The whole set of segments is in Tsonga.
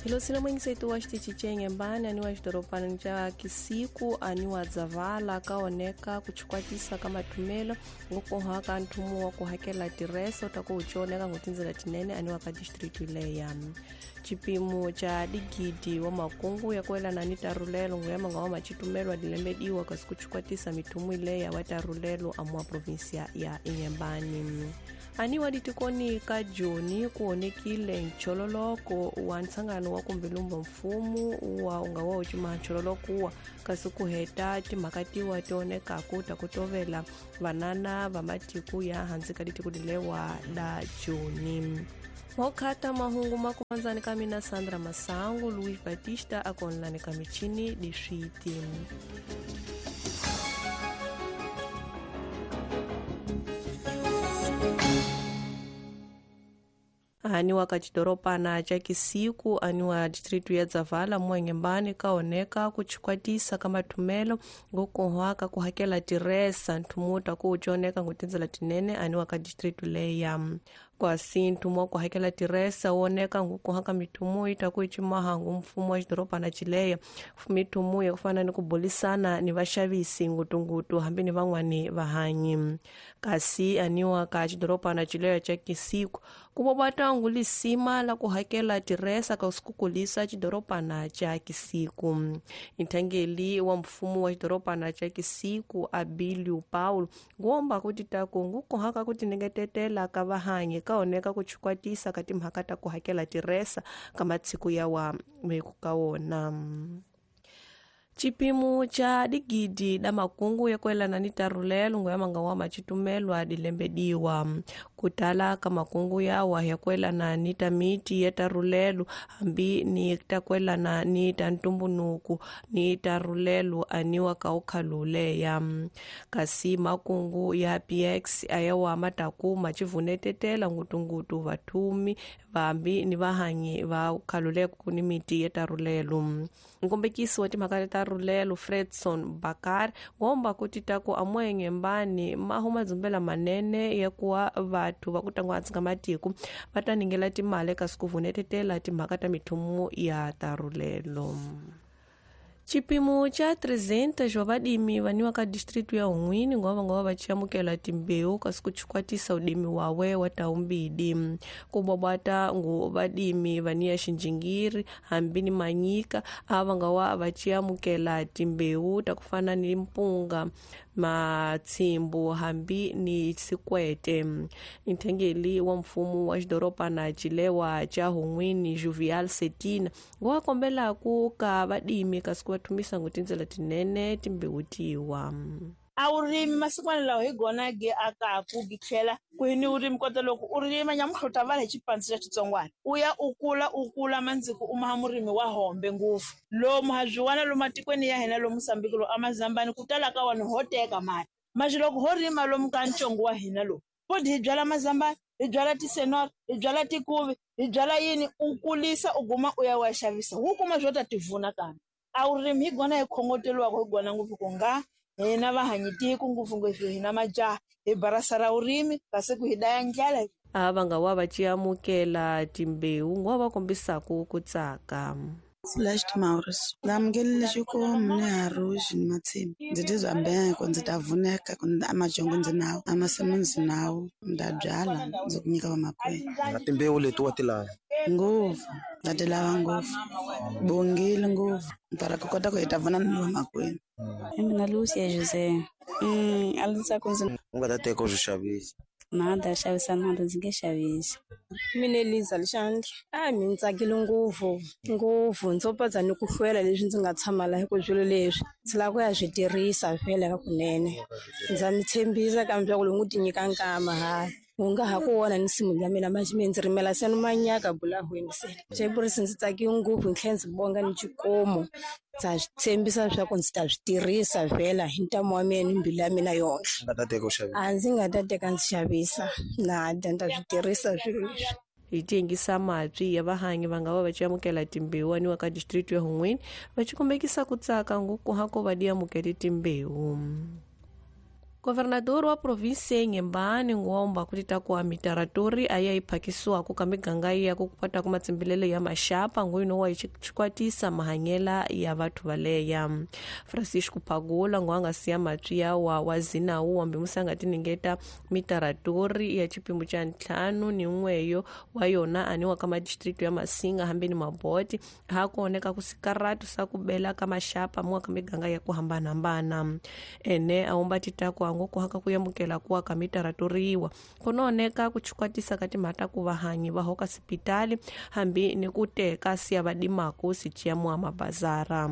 Hilosina mwingisetu wa xitichi ca Inhembane aniwa xidorobana ca Kisiku aniwa Dzavala kaoneka kuchikwatisa ka mathumelo ngokoha ka nthumu wa ku hakela tirese ta ku uconeka ngutindzela tinene aniwa ka district leya. Chipimo cha digidi wa makungu ya kuelana ni tarulelo nguyama nga wa machitumelo adilembediwa kasi kuchikwatisa mithumu ileya wa tarulelo amwa provinsia ya Inhembane. Aniwa ditikoni ka Joni kuonekile nchololoko wa ntsangano wa kumbilumba mfumu wa unga wa ucima nchololoko wa kasi kuheta timhakatiwa tionekaku ta kutovela vanana va matiku ya hansi ka ditiko dilewa la Joni. Mokhata mahungu makuanzani ka mina Sandra Masangu, Luis Batista akonlani ka michini diswiti. Aniwa ka xidorobana ca Kisiku aniwa distritu ya Dzavala muEnhembane kaoneka kuchikwatisa ka mathumelo ngokohwa ka ku hakela tiresa nthumu ta ku uconeka ngutindzela tinene aniwa ka distritu leya. Kwasi nthumu wa ku hakela tiresa woneka ngukoha ka mithumu yi ta ku icimaha ngu mfumo wa xidorobana cileya mithumu ya ku fana ni ku bulisana ni vaxavisi ngutungutu hambi ni van'wani vahanyi. Kasi aniwa ka xidorobana cileya ca Kisiku ku vobata ngulisima la ku hakela tiresa ka sikukulisa xidorobana ca Kisiku. Nthangeli wa mfumo wa xidorobana ca Kisiku Abilio Paulo ngomba kuti taku ngukoha ka ku tinengetetela ka vahanyi kaoneka ku chikwatisa ka timhaka ta ku hakela tiresa ka matsiku ya wa meku ka wona. Chipimo cha digidi da makungu ya kuelana ni tarulelo nguyama nga wa machitumelo adilembediwa kutala ka makungu yawa ya kuelana ni tamiti ya tarulelo hambi ni takuelana ni tantumbunuku ni tarulelo aniwa ka ukhaluleya. Kasi makungu ya PX ayawa mataku machivunetetela ngutungutu vathumi vambi ni vahanyi va ukhaluleku ni miti ya tarulelo. Nkombekisi wa timhaka ta tarulelo Fredson Bakar ngomba kuti taku amwenge mbani mahu madzumbela manene ya kuwa vathu va kutangwa hansi ka matiko va ta ningela timali kasi ku vunetetela timhaka ta mithumu ya tarulelo. Chipimo cha 300 wa vadimi vaniwa ka distritu ya Hun'wini ngova ngova vachiamukela timbewu kasi kuchikwatisa udimi wawe wa taumbidi. Kubwabwata ngu vadimi vaniya xinjingiri hambi ni manyika ava nga wa vachiamukela timbewu ta kufana ni mpunga matsimbu hambi ni sikwete. Nthengeli wa mfumo wa xidorobana cilewa cha Hun'wini Jovial Setina ngo kombela ku ka vadimi kasi ku va thumisa ngutindzela tinene timbewu tiwa. A wu rimi masikwana lawa hi gona gi akaku gi tlhela ku ni u rimi kota loko u rima nyamuhla va hi xipandzi xa xitsongwana u ya u kula mandziko u maha murimi wa hombe ngopfu lomu ha byiwana lomu matikweni ya hina lomu Mozambique lomu amazambani ku tala ka vanhu ho teka mali maxi loko ho rima lomu ka ntsongo wa hina lowu futhi hi byala mazambani hi byala tisenora hi byala tikuvi hi byala yini u kulisa u guma u ya wa xavisa wu kuma swo ta tivuna kambe a wu rimi hi gona hi khongoteliwaka hi gona ngopfu ku nga hina vahanyi tiko ngopfungopfu hina majaha hi barasa ra vurimi kasi ku hi daya ndlala. Ava nga wa va ciamukela timbewu ngo va kombisaku ku tsaka. Celeste Maurice ndamukelile xikomu ni haruxi ni matsima ndzi tizwa beko ndzi ta vuneka amajongo ndzi nawo amasimu ndzi nawo nda byala ndzi ku nyika vamakwenu. Na timbewu leti wa ti lava ngopfu nda ti lava ngopfu bongile ngopfu para ku kota ku hi ta vona ni vamakwenu. Mina Lucia José. A ndzi tsaka ndzi u nga ta teka u swi xavisa. Nada xavisa nada ndzi nge xavisi. Mina Eliza Lixandra. A mi ndzi tsakile ngopfu ngopfu ndzo padza ni ku hlwela leswi ndzi nga tshama laha ku swilo leswi ndzi lava ku ya swi tirhisa vhele ka kunene. Ndza mi tshembisa kambe ku loko u ti nyika nkama ha u nga ha ku vona ni nsimu ya mina manje mi ndzi rimela se ni manyaka bulahweni se. Xepurisi ndzi tsakile ngopfu ni tlhela ndzi bonga ni xikomu. Ndza swi tshembisa leswaku ndzi ta swi tirhisa vhela hi ntamu wa mina ni mbilu ya mina yonke. A ndzi nga ta teka ndzi xavisa nada ndzi ta swi tirhisa swilo leswi. Hi tiyingisa mabyi ya vahanyi va nga va va ciamukela timbewu aniwa ka district ya Hun'wini va cikombekisa ku tsaka ngopfu ha ko va di amukele timbewu. Governador wa provinsi Inhambane ngomba kuti takuwa mitaratori aya iphakisiwako ka miganga ya ku kwata ku matsimbilelo ya maxapa nguyino wa xikwatisa mahanyela ya vathu valeya. Francisco Pagula ngo anga siya matwi ya wa zinawu wambe musanga tiningeta mitaratori ya chipimo cha 5 ni n'weyo wa yona aniwa ka madistrict ya Masinga hambeni Maboti hakuoneka kusikaratu sa kubela ka maxapa mwa ka miganga ya ku hambanahambana. Ene aomba titaku ngo kuhaka kuyamukela kuwa ka mitaratoriwa kunooneka kuchikwatisa ka timhata ku vahanyi va hoka sipitali hambi ni ku teka siya vadimaku sichiya mwa mabazara.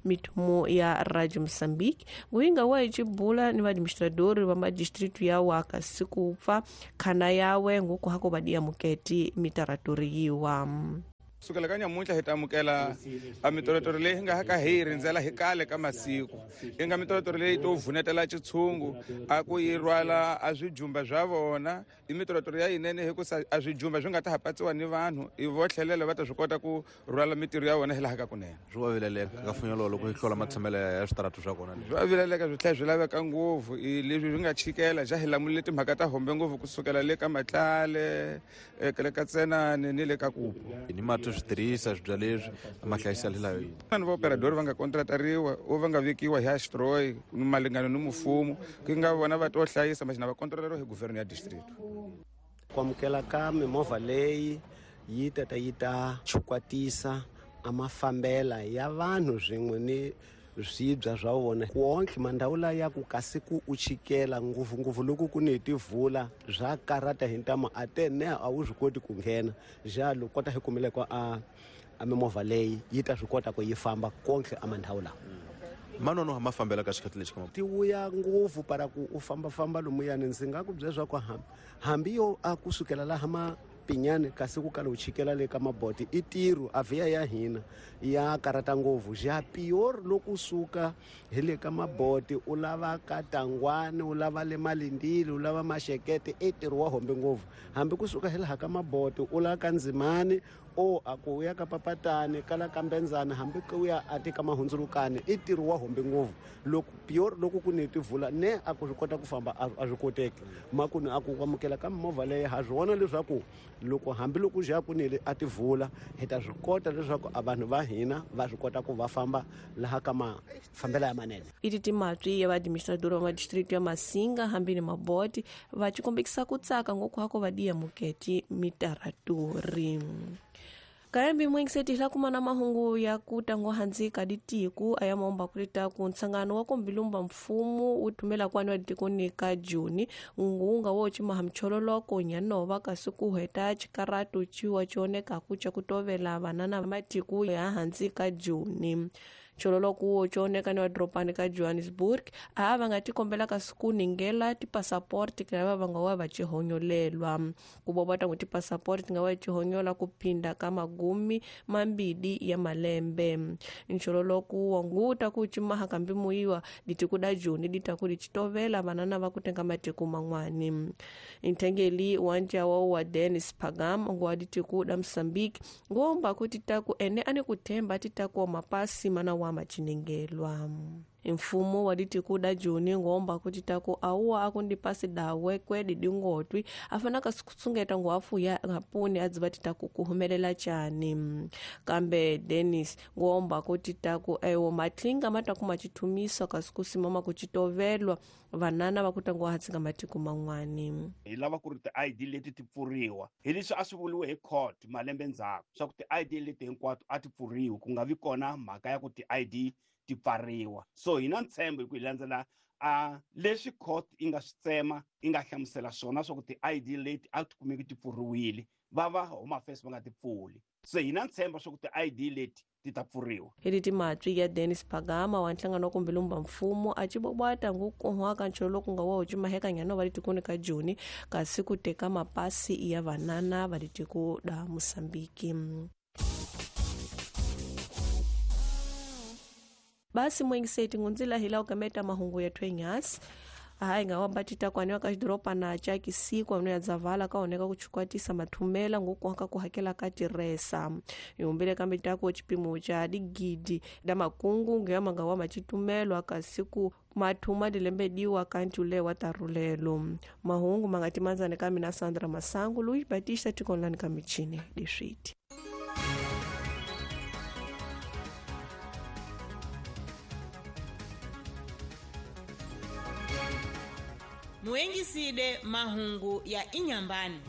Mitumo ya Radio Mozambique nguinga wa ichibula ni vaadministradori va madistritu ya waka siku pfa khana yawe nguku hako vadia muketi mitaratoriwa. Sukela ka nyamuntlha hi ta amukela a mitoratori leyi nga ka hi rindzela hi kale ka masiku yi nga mitoratori leyi to vunetela xitshungu a ku yi rhwala a swijumba swa vona i mitoratori ya yinene hikusa a swijumba swi nga ta ha patsiwa ni vanhu i vo tlhelela va ta swi kota ku rhwala mitirho ya vona hi laha ka kunene. Swi wa vileleka ka funyolo loko yi hlola matshamelo ya switaratu swa kona swi wa vileleka swi tlhela swi laveka ngopfu i leswi swi nga chikela ja hi lamulile timhaka ta hombe ngopfu kusukela le ka Matlale le ka Tsenani ni le ka Kupu ni mati switirhisa swibya leswi mahlayiselo layo vanhu va operador va nga kontratariwa o va nga vekiwa hi Astroy malingano ni mfumo ku nga vona va to hlayisa machina va kontroleriwa hi governor ya district. Ku amukela ka mimovha leyi yi tata yi ta chukwatisa a mafambela ya vanhu swin'we ni swibya swa vona kuontlhe mandhawu laya ku kasi ku u chikela ngopfungopfu loko ku ni tivula swa karata hi ntamu a te ne a wu swi koti ku nghena jalo kota hi kumile ko a mimovha leyi yi ta swi kota ku yi famba kontlhe a mandhawu lawa manono ma fambela ka xikhathi lexi ti vuya ngopfu para ku u fambafamba lomuyani ndzi nga ku byela swa ku hambi yo a kusukela laha ma pinyane kasi ku kala u chikela le ka Maboti i tirho a vhiya ya hina ya karata ngopfu ja pior loko suka hi le ka Maboti u lava ka Tangwani u lava le Malindili u lava Maxekete i tirho wa hombe ngopfu hambi kusuka hi laha ka Maboti u lava ka Ndzimani o a ku ya ka Papatani kala ka Mbenzana hambi ku ya a tika Mahundzulukani i tirho wa hombe ngopfu loko pior loko ku ni tivula ne a ku swi kota ku famba a swi koteki makuni a ku amukela ka mimovha leyi ha swi vona leswaku loko hambi loko ja ku nile a tivula hi ta swi kota leswaku a vanhu va hina va swi kota ku va famba laha ka mafambela ya manene. Iti timatwi ya vaadministrador va madistrict ya Masinga hambi ni Maboti va chikombekisa ku tsaka ngoku hako vadiya muketi mitaratori. Kayambi mwengiseti hila kumana mahungu ya kutango hanzi kaditiku aya maomba kulita kunsangano wako mbilumba mfumu utumela kwani wa ka Juni ngunga wochi mahamchololoko nyanova kasuku heta chikaratu chiwa chioneka kucha kutovela vanana matiku ya hanzi ka Juni. Chololoku chioneka ni wadropani ka Johannesburg ava nga tikombela kasuku ningela tipasaporti kava vanga wa vachihonyolelwa kubobata ngo tipasaporti nga wa chihonyola kupinda kama gumi mambidi ya malembe. Nchololoku wanguta kuchimaha kambi muiwa ditikuda Juni ditakuli chitovela vanana vakutenga matiku mangwani. Intengeli wanja wao wa Dennis Pagam ngwa ditikuda Mozambique ngomba kuti taku ene ane kutemba titaku mapasi mana wa machinengelwa. Mfumo wa ditikuda Juni ngomba kuti taku auwa akundipasi dawe kwedi dingotwi afana kasukusungeta ngwafu ya ngapuni adziva titaku kuhumelela chani. Kambe Dennis ngomba kuti taku ewo matlinga mataku machitumiswa kasukusimama kuchitovelwa vanana vakutangwa hatsinga matiku mangwani. Hi lava ku ri ti-ID leti ti pfuriwa hi leswi a swi vuriwe hi court malembe ndzhaku swa ku ti-ID leti hinkwato a ti pfuriwi ku nga vi kona mhaka ya ku ti-ID ti pfariwa. So hi na ntshembo hi ku hi landzela a leswi court yi nga swi tsema yi nga hlamusela swona swa ku ti-ID leti a ti kumeki ti pfuriwile va va Home Affairs va nga ti pfuli. So hi na ntshembo swa ku ti-ID leti ti ta pfuriwa. Hi timatwi ya Dennis Pagama wa nhlangano wa kumbilumba mfumo a chibobwata ngukuhwaka ncholo ku nga wa chimaheka nyano va litikuni ka Juni kasi ku teka mapasi ya vanana va litiku da Mozambique. Basi mwengiseti ngunzila hila ukameta mahungu ya twenyasi. Aha inga wambatita kwaniwa ka xidorobana ca Kisikwa no ya Dzavala ka oneka ku chukwatisa mathumela ngokuhaka ku hakela ka tiresa. Ihumbile kambe tako chipimo cha digidi da makungu ngeya manga wa machitumelo akasiku mathuma dilembediwa kanti ule wa tarulelo. Mahungu mangatimanzane ka mina Sandra Masangu Luis Batista tikonlani ka michini diswiti. Muengiside mahungu ya Inyambani.